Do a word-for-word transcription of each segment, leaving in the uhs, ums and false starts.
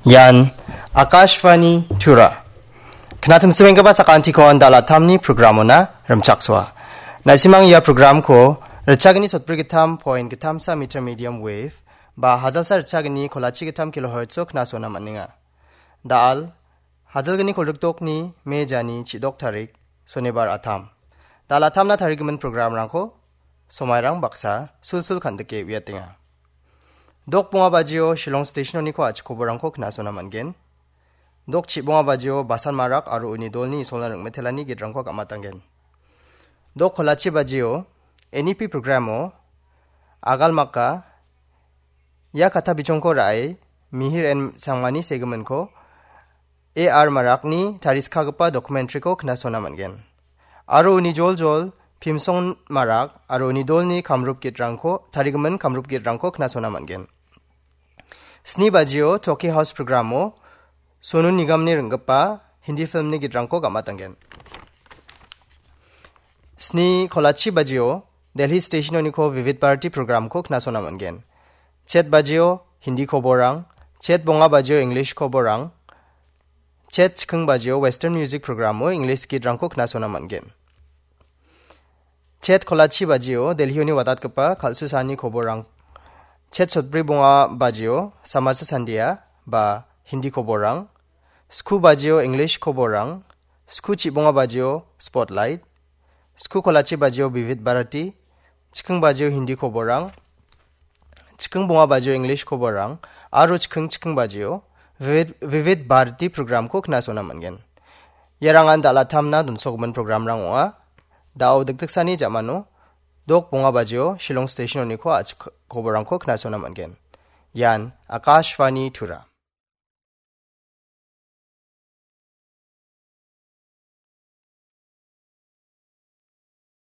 Ian Akashvani Tura. Knatimswenggipa sakantikon dalatamni programona rimchaksoa. Naisimang ia programko ritchagni sotbrigittam point gittamsa meter medium wave ba hajalsa ritchagni kolachi gittam kilohertzo knasona man·enga. Dal, hajalgni kolrikdokni me jani chidok tarik, Sonibar atam. Dalatamna tarigimin programrangko somairang baksa sulsul kandike uiatenga. Dok bonga bajio Shillong Station-oniko a·chikoborangko knasona man·gen. Dok chibonga bajio Basan Marak aro uni dolni isolna ringmetelani gitrangko gamatanggen. Dok kolachi bajio N E P programo Agalmaka ia kata bichongko ra·e Mihir N Sangmani segiminko A R Marakni tariskagipa documentary-ko knasona man·gen. Aro uni joljol Pimson Marak aro uni dolni kamrup gitrangko, tarigimin kamrup gitrangko knasona man·gen. Sni bajio Toki House programo Sonu Nigamni ringgipa Hindi filmni gitrangko gamatanggen. Sni kolachi bajio Delhi Station-oniko Vivid Bharati programko knasona man·gen. Chet bajio Hindi koborang, chet bonga bajio English koborang, chet chiking bajio Western Music programo English gitrangko knasona man·gen. Chet kolachi bajio Delhi-oni watatgipa kal·susani koborang, chet sotbri bonga bajio Samasa Sandia ba Hindi koborang, sku bajio English koborang, sku chibonga bajio Spotlight, sku kolachi bajio Vivid Bharati, chiking bajio Hindi koborang, chiking bonga bajio English koborang, aro chiking chiking bajio Vivid, Vivid Bharati programko knasona man·gen. Iarangan dalatamna donsogimin programrang ong·a. Da·o dikdiksani jamano dok bonga bajio Shillong Station-oniko a·chik koborangko knasona man·gen. Ian Akashvani Tura.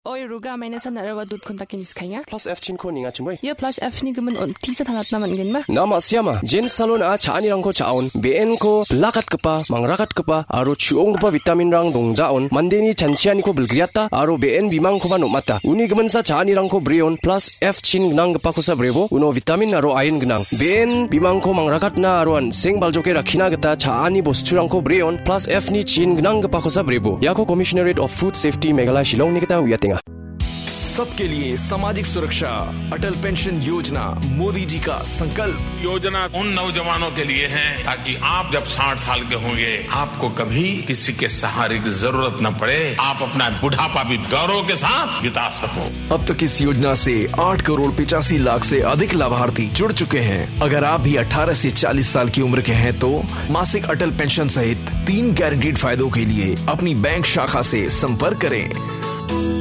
Oi, Ruga, mainasa nara·aba dut kontak ini skainga. Plus F chinko ninga chimoi. Ia plus F ni gimin on tisa tanatna man·genba? Na ma·siama, Jen Salon-a cha·anirangko cha·on, be·enko bilakatgipa, mangrakatgipa, aro chu·onggipa vitaminrang dongjaon, mandeni chanchianiko bilgriata, aro be·en bimangkoba nom·ata. Uni giminsa cha·anirangko breon, plus F chin gnanggipakosa brebo, uno vitamin aro iron gnang. Be·en bimangko mangrakatna aro an·seng baljoke rakkina gita cha·ani bosturangko breon, plus F ni chin gnanggipakosa brebo. Iako Commissionerate of Food Safety Meghalaya Shillongni gita uiatenga. सबके लिए सामाजिक सुरक्षा, अटल पेंशन योजना, मोदी जी का संकल्प। योजना उन नौजवानों के लिए है, ताकि आप जब साठ साल के होंगे, आपको कभी किसी के सहारे की जरूरत न पड़े, आप अपना बुढ़ापा भी गौरव के साथ बिता सको। अब तक इस योजना से आठ करोड़ पचासी लाख से अधिक लाभार्थी जुड़ चुके हैं। अगर आप भी अठारह से चालीस साल की उम्र के हैं, तो मासिक अटल पेंशन सहित तीन गारंटीड फायदों के लिए अपनी बैंक शाखा से संपर्क करें।